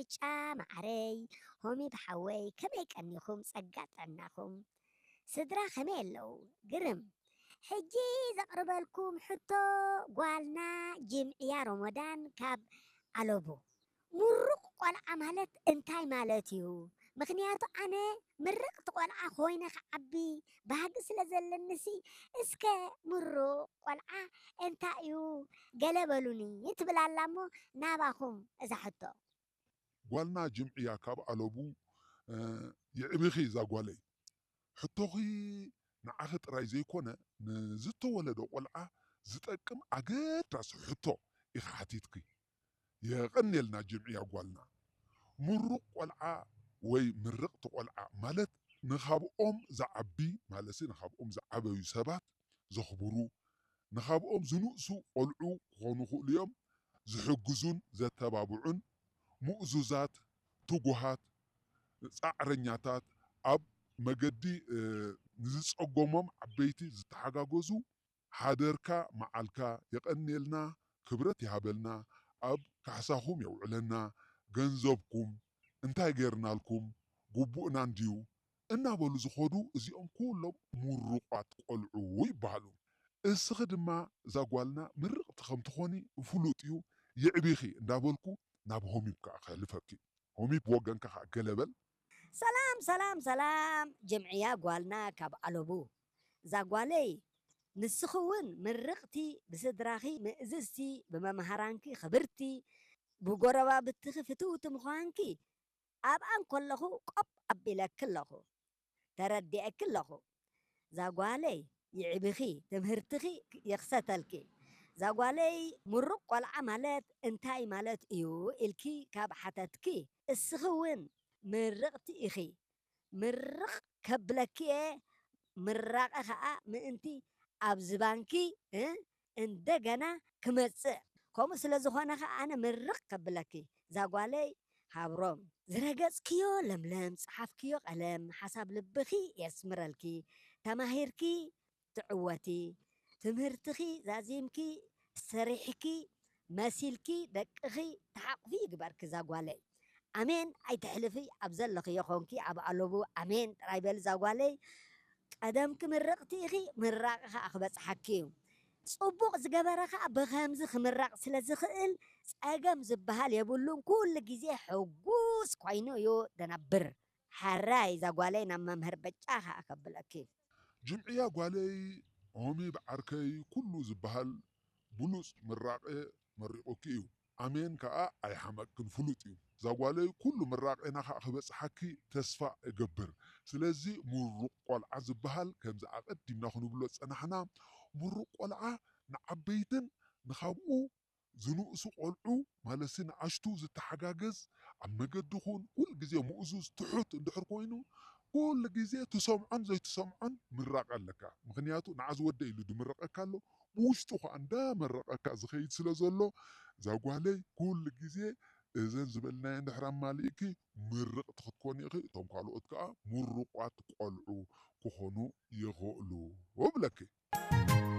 ብጫ ማዓረይ፣ ሆሚብ ሓወይ፣ ከመይ ቀኒኹም? ጸጋ ጥዕናኹም? ስድራ ከመይ ኣለዉ? ግርም። ሕጂ ዘቕርበልኩም ሕቶ፣ ጓልና ጅምዕያ ሮሞዳን ካብ ኣለቡ። ምሩቕ ቆልዓ ማለት እንታይ ማለት እዩ? ምኽንያቱ ኣነ ምርቕቲ ቆልዓ ኮይነ ክዓቢ ባህጊ ስለ ዘለኒሲ፣ እስከ ምሩቕ ቆልዓ እንታይ እዩ? ገለ በሉኒ ትብል ኣላ እሞ ናባኹም እዛ ሕቶ። ጓልና ጅምዕያ ካብ ኣለቡ፣ እ፣ የዕቢኺ እዛ ጓለይ። ሕቶኺ ንዓኺ ጥራይ ዘይኮነ፣ ንዝተወለደ ቆልዓ ዝጠቅም ኣገዳሲ ሕቶ ኢኺ ሓቲትኪ። የቐንየልና ጅምዕያ ጓልና። ምሩቕ ቆልዓ ወይ ምርቕቲ ቆልዓ ማለት ንኻብኦም ዝዓቢ፣ ማለትሲ ንኻብኦም ዝዓበዩ ሰባት ዘኽብሩ፣ ንኻብኦም ዝንእሱ ቆልዑ ክኾኑ ይኽእሉ እዮም፣ ዝሕግዙን ዘተባብዑን፣ ምእዙዛት፣ ትጉሃት፣ ጻዕረኛታት፣ ኣብ መገዲ፣ እ፣ ንዝጸገሞም ዓበይቲ ዝተሓጋገዙ፣ ሓደርካ መዓልካ የቐንየልና፣ ክብረት ይሃበልና፣ ኣብ ካሕሳኹም የውዕለና፣ ገንዘብኩም እንታይ ጌርናልኩም፣ ግቡእና እንድዩ እናበሉ ዝኸዱ፣ እዚኦም ኩሎም ምሩቋት ቆልዑ ይበሃሉ። እስኺ ድማ እዛ ጓልና ምርቕቲ ከም ትኾኒ ፍሉጥ እዩ፣ የዕቢኺ እንዳበልኩ ናብ ሆሚብ ከኣ ከሕልፈኪ። ሆሚብ ብወገንካ ከኣ ገለ በል። ሰላም፣ ሰላም፣ ሰላም፣ ጅምዕያ ጓልና ካብ ኣለቡ። እዛ ጓለይ፣ ንስኺ እውን ምርቕቲ፣ ብስድራኺ ምእዝዝቲ፣ ብመምሃራንኪ ክብርቲ፣ ብጎረባብትኺ ፍትውቲ ምዃንኪ ኣብኣ እንከለኹ ቆብ ኣቢለኪ ኣለኹ። ተረዲኤኪ ኣለኹ። እዛ ጓለይ፣ ይዕብኺ፣ ትምህርትኺ ይኽሰተልኪ። እዛ ጓለይ፣ ምሩቕ ቆልዓ ማለት እንታይ ማለት እዩ ኢልኪ ካብ ሓተትኪ፣ እስኺ እውን ምርቕቲ ኢኺ። ምርቕ ከብለኪ እየ፣ ምራቐ ኸኣ ምእንቲ ኣብ ዝባንኪ፣ እ፣ እንደገና ክመጽእ። ከምኡ ስለ ዝኾነ ኸኣ ኣነ ምርቕ ከብለኪ። እዛ ጓለይ ሃብሮም፣ ዝረገጽክዮ ለምለም፣ ዝጸሓፍክዮ ቀለም፣ ሓሳብ ልብኺ የስምረልኪ። ተማሂርኪ ትዕወቲ፣ ትምህርትኺ ዛዚምኪ፣ ሰሪሕኪ፣ መሲልኪ፣ ደቅኺ ትሓቑፊ ይግበርኪ እዛ ጓለይ። ኣሜን ኣይትሕልፊ፣ ኣብ ዘለኽዮ ኾንኪ ኣብ ኣለቡ ኣሜን ጥራይ በሊ እዛ ጓለይ። ቀደምኪ ምርቕቲ ኢኺ፣ ምራቕ ኸኣ ክበጽሓኪ እዩ። ጽቡቕ ዝገበረ ኸኣ ብኸምዚ ክምረቕ ስለ ዝኽእል ጸገም ዝበሃል የብሉን። ኩሉ ግዜ ሕጉስ ኮይኑ እዩ ዝነብር። ሕራይ እዛ ጓለይ ናብ መምህር በጫ ኸኣ ከብለኪ። ጅምዕያ ጓለይ፣ ሆሚብ ዓርከይ፣ ኩሉ ዝበሃል ብሉጽ ምራቐ መሪቑኪ እዩ። ኣሜን ከኣ ኣይሓመቅክን ፍሉጥ እዩ። እዛ ጓለይ ኩሉ ምራቐና ከኣ ክበጽሓኪ ተስፋ እገብር። ስለዚ ምሩቕ ቆልዓ ዝበሃል ከምዚ ኣቐዲምና ክንብሎ ዝጸናሕና፣ ምሩቕ ቆልዓ ንዓበይትን ንኻብኡ ዝንእሱ ቆልዑ ማለትሲ ንኣሽቱ ዝተሓጋገዝ፣ ኣብ መገዲ ኹን ኩሉ ግዜ ምእዙዝ ትሑት እንድሕር ኮይኑ፣ ኩሉ ግዜ ትሰምዖን ዘይትሰምዖን ምራቕ ኣለካ። ምኽንያቱ ንዓ ዝወደ ኢሉ ድምረቐካ ኣሎ፣ ብውሽጡ ኸዓ እንዳመረቐካ ዝኸይድ ስለ ዘሎ፣ እዛ ጓለይ ኩሉ ግዜ እዘን ዝበልናዮ እንድሕር ኣማሊእኪ ምርቕቲ ክትኮኒ ኢኺ፣ እቶም ካልኦት ከኣ ምሩቋት ቆልዑ ክኾኑ ይኽእሉ እብለኪ።